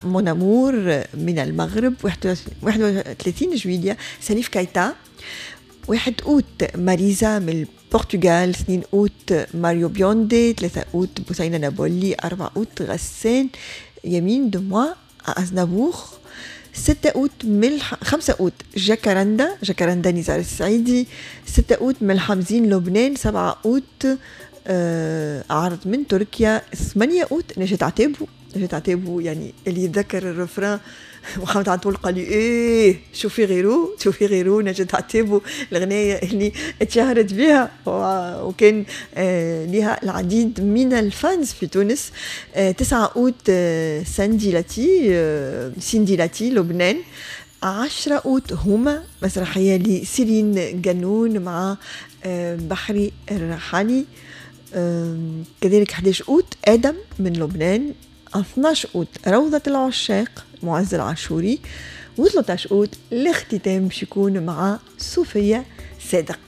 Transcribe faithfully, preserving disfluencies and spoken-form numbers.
mon amour من المغرب. واحد وثلاثين جويلية ساليف كايتا. واحد أوت ماريزا من البرتغال. اثنين أوت ماريو بيوندي. ثلاثة أوت بوسينة نابولي. أربعة أوت غسان يمين دموا أزنابور. ستة أوت ملح خمسة أوت جاكاراندا جاكاراندا نزار السعيدي. ستة أوت ملحمزين لبنان. سبعة أوت آه عرض من تركيا. ثمانية أوت نجاة عتابو نجاة عتابو يعني اللي يتذكر ال refrain محمد عطول قال لي ايه شوفي غيرو شوفي غيرو نجاة عتابو، الغناية اللي اتشهرت بها وكان آه لها العديد من ال fans في تونس. آه تسعة أوت آه ساندي لاتي آه سيندي لاتي لبنان. عشرة أوت هما مسرحية لسيرين جنون مع آه بحري الرحالي. آه كذلك أحد عشر أوت آدم من لبنان. اثنا عشر أوت روضة العشاق معز العاشوري. وثلاثة عشر أوت الاختتام باش يكون مع صوفيا صادق.